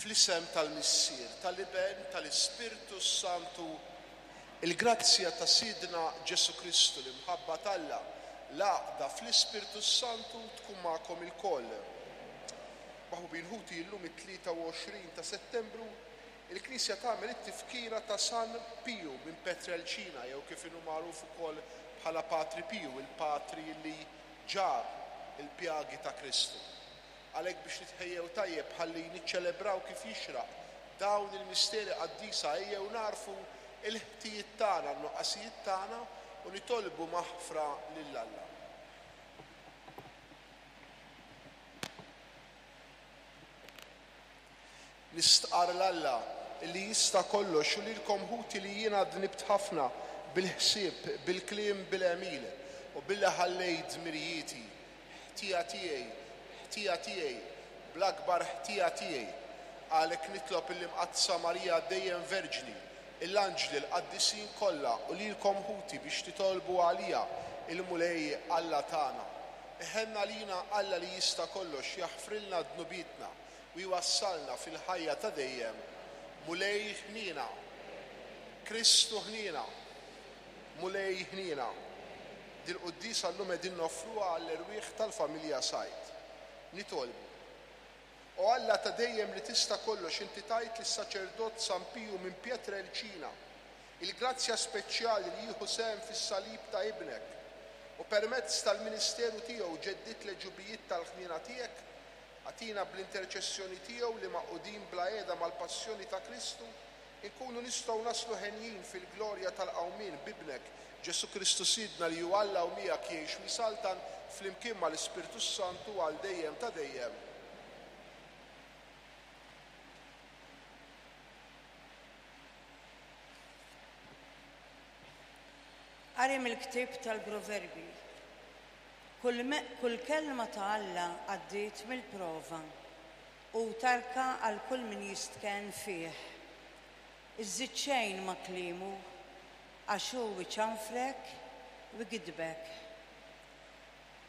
Fl-isem tal-Missier, tal-Iben, tal-Ispirtu s-Santu, il-grazzja ta' Sidna Ġesù Kristu, l-imħabba t'Alla, l-għaqda fl-Ispirtu s-Santu tkun magħkom ilkoll. Maħbubin ħuti, illum it-23 ta' Settembru, il-Knisja tagħmel it-tifkira ta' San Piju minn Petrelcina jew kif inhu magħruf ukoll bħala Patri Piju, il-patri li ġarr il-pjagi ta' Kristu. Għalhekk biex nitħejjew tajjeb ħalli niċċelebraw kif jixraq dawn il-misteri qaddisa ejjew nagħrfu l-ħtijiet tagħna, n-nuqqasijiet tagħna u nitolbu maħfra lil Alla. Nistqarr 'l Alla li jista' kollox u lilkom ħuti li jiena dnibt ħafna bil-ħsieb, bil-kliem, bil-għemil, u billi ħallejt dmirijieti. Ħtija tiegħi, ħtija tiegħi, bl-akbar ħtija tiegħi. Għalhekk nitlob lill-Imqaddsa Marija dejjem Verġni, l-anġli, l-qaddisin kollha u lilkom ħuti biex titolbu għalija il-Mulej Alla tagħna. Iħenn għalina Alla li jista' kollox jaħfrilna dnubietna u jwassalna fil-ħajja ta' dejjem. Mulej ħniena. Kristu ħniena. Mulej ħniena. Dil-quddiesa llum qegħdin noffruha għall-erwieħ tal-familja Said. Nitolbu. O Alla ta' dejjem li tista' kollox inti tajt lis-saċerdot San Piju minn Pietrelcina il-grazzja speċjali li jieħu sehem fis-salib ta' Ibnek u permezz tal-ministeru tiegħu ġeddidt l-għeġubijiet tal-ħniena tiegħek, agħtina bl-interċessjoni tiegħu li magħqudin bla qiegħda mal-passjoni ta' Kristu Inkunu nistgħu naslu henjin fil-glorja tal-qawmien b'Ibnek, Ġesù Kristu Sidna li hu Alla u miegħek jgħix u jsaltan flimkien mal-Ispirtu s-Santu għal dejjem ta' dejjem. Qari mill-ktieb tal-Proverbji. Kull, kull kelma ta' Alla għaddiet mill-prova. Hu tarka għal kull min jistkenn fih. Iżżid xejn ma' kliemu, għax hu iċanfrek u jgiddbek.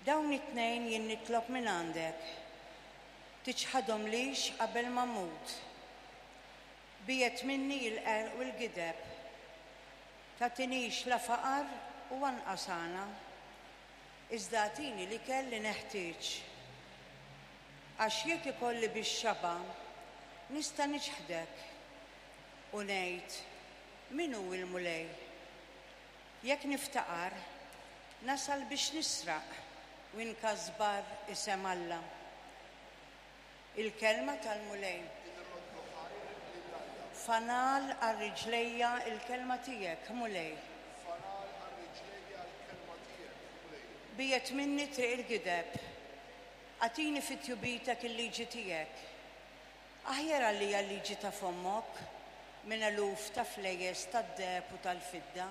Dawn it-tnejn jien nitlob mingħandek, tiċħadhomlix qabel ma mmut. Biegħed minni l-qerq u l-gideb. Tagħtinix la faqar u anqas għana, iżda agħtini l-ikel li neħtieġ. Għax jekk ikolli bix-xaba', nista' niċħdek u ngħid, 'Min hu l-Mulej? Jekk niftaqar, nasal biex nisraq u nkasbar isem Alla. Il-kelma tal-Mulej. Fanal għal riġlejja l-kelma tiegħek, Mulej. Biegħed minni triq il-gideb. Agħtini fi tjubitek il-liġi tiegħek. Aħjar għalija l-liġi ta' fommok minn eluf ta' flejjes tad-deheb u tal-fidda.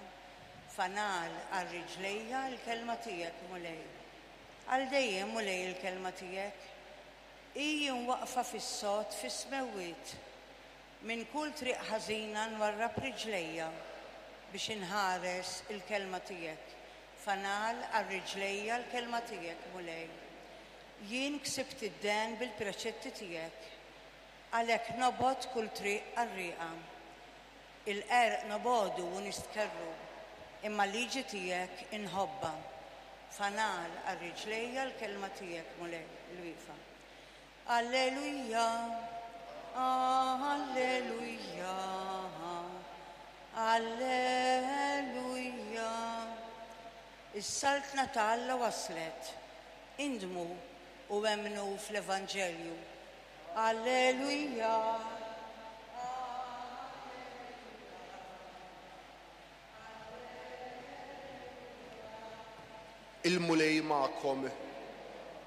Fanal għal riġlejja l-kelma tiegħek, Mulej. Għal dejjem, Mulej, il-kelma tiegħek. Hi imwaqqfa fis-sod fis-smewwiet. Minn kull triq ħażina nwarrab riġlejja biex inħares il-kelma tiegħek. Fanal għal riġlejja l-kelma tiegħek, Mulej. Jien ksibt id-dehen bil-preċetti tiegħek. Għalhekk nobgħod kull triq qarrieqa. Il-qerq nobogħdu u nistkerrhu, imma l-liġi tiegħek inħobbha. Fanal għal riġlejja l-kelma tiegħek, Mulej, il-wieqfa. Alleluja, Alleluja, Alleluja. Is-Saltna ta' Alla waslet. Indmu u emmnu fl-Evanġelju. Alleluja. Il-Mulej magħkom.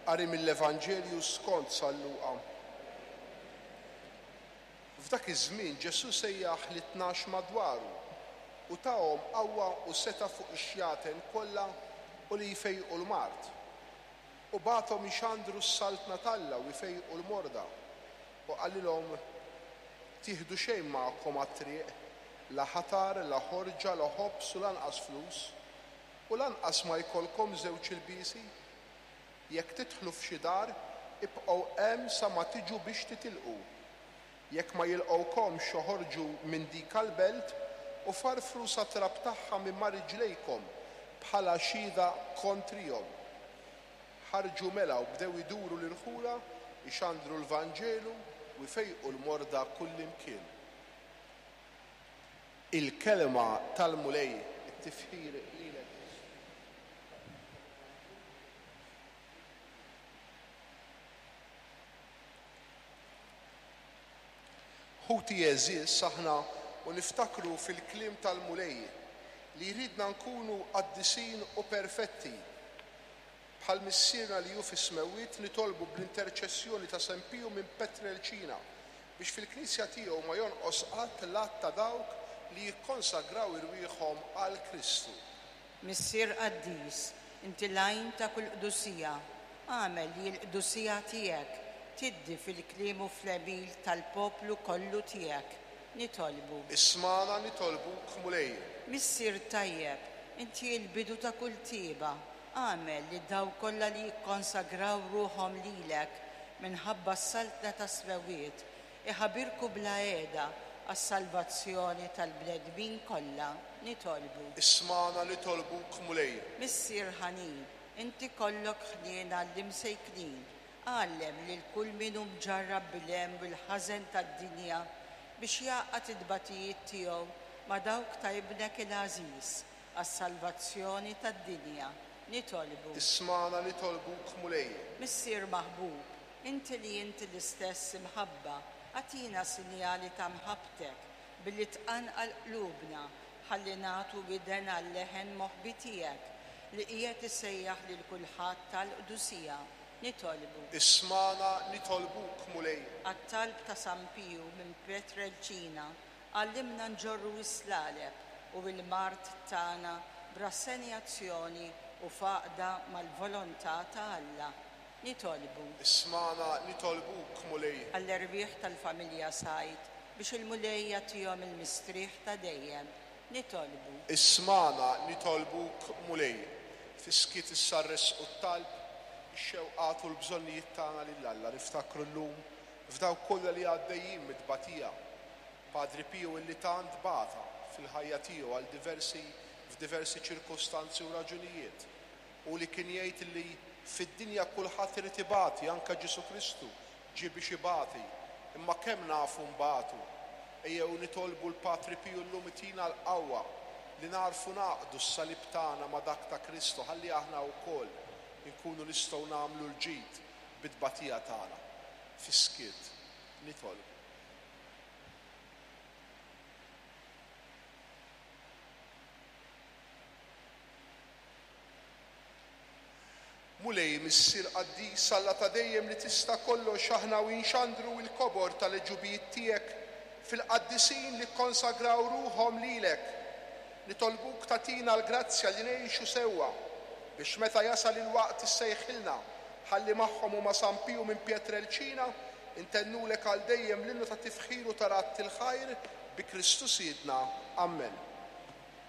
Qari mill-Evanġelju skont San Luqa. F'dak iż-żmien Ġesù sejjaħ lit-tnax madwaru u tahom qawwa u setgħa fuq ix-xjaten kollha u li jfejqu l-mard. U bagħathom ixandru s-Saltna t'Alla u jfejqu l-morda. U qalilhom, Tieħdu xejn magħkom għat-triq, la ħatar, la ħorġa, la ħobż u lanqas flus, u lanqas ma jkollkom żewġ ilbiesi. Jekk tidħlu f'xi dar, ibqgħu hemm sa ma tiġu biex titilqu. Jekk ma jilqgħukomx oħorġu minn dika l-belt u farfru sat-trab tagħha minn ma' riġlejkom bħala xhieda kontrihom. Ħarġu mela u bdew iduru l-irħula jxandru l-Vanġelu u jfejqu l-morda kullimkien. Il-Kelma tal-Mulej, it-tifħir lilek Kristu. Ħuti għeżież, aħna u niftakru fil-kliem tal-Mulej li jridna nkunu qaddisin u perfetti bħal Missierna li hu fis-smewwiet, nitolbu bl-interċessjoni ta' San Piju minn Petrelċina biex fil-Knisja tiegħu ma jonqos qatt l-għadd ta' dawk li jikkonsagraw irwieħhom għal Kristu. Missier qaddis, inti l-għajn ta' kull qdusija, agħmel li l-qdusija tiegħek tiddi fil-kliem u fl-għemil tal-poplu kollu tiegħek. Nitolbu. Ismagħna nitolbuk, Mulej. Missier tajjeb, inti l-bidu ta' kull tjieba, agħmel li dawk kollha li jikkonsagraw ruħhom lilek minħabba s-saltna tas-smewwiet iħabirku bla heda għas-salvazzjoni tal-bnedmin kollha. Nitolbu. Ismagħna nitolbuk, Mulej. Missier ħanin, inti kollok ħniena għall-imsejknin, għallem lil kull min hu mġarrab bil-hemm u l-ħażen tad-dinja biex jgħaqqad it-tbatijiet tiegħu ma' dawk ta' Ibnek il-għażiż għas-salvazzjoni tad-dinja. Nitolbu. Ismagħna nitolbuk, Mulej. Missier maħbub, inti li inti l-istess imħabba, agħtina sinjali ta' mħabbtek billi tqanqal qlubna ħalli nagħtu widen għal-leħen moħbi tiegħek li qiegħed isejjaħ lil kulħadd għall-qdusija. Nitolbu. Ismagħna nitolbuk, Mulej. Għat-talb ta' San Piju minn Pietrelcina, għallimna nġorru s-slaleb u l-mard tagħna b'rassenjazzjoni u f'għaqda mal-volontà ta' Alla. Nitolbu. Ismagħna nitolbuk, Mulej. Għall-erwieħ tal-familja Said biex il-Mulej jagħtihom il-mistrieħ ta' dejjem. Nitolbu. Ismagħna nitolbuk, Mulej. Fis-skiet issa ressqu t-talb, ix-xewqat u l-bżonnijiet tagħna lil Alla. Niftakru llum f'dawk kollha li għaddejjin mit-tbatija. Padri Piju illi tant bata fil-ħajja tiegħu għal diversi f'diversi ċirkustanzi u raġunijiet. Hu li kien jgħid illi fid-dinja kulħadd irid ibati, anke Ġesù Kristu ġie biex ibati. Imma kemm nafu nbatu? Ejjew nitolbu l-Patri Piju llum itina l-qawwa li nagħrfu ngħaqqdu s-salib tagħna ma' dak ta' Kristu ħalli aħna wkoll inkunu nistgħu nagħmlu l-ġid bit-tbatija tagħna. Fis-skiet nitolbu. Mulej, Missier qaddis, Alla ta' dejjem li tista' kollox, aħna u nxandru l-kobor tal-għeġubijiet tiegħek fil-qaddisin li kkonsagraw ruħhom lilek, nitolbuk tagħtina l-grazzja li ngħixu sewwa, biex meta jasal il-waqt issejħilna, ħalli magħhom u ma' San Piju minn Pietrelcina intennulek għal dejjem l-innu ta' tifħir u ta' radd il-ħajr bi Kristu Sidna. Ammen.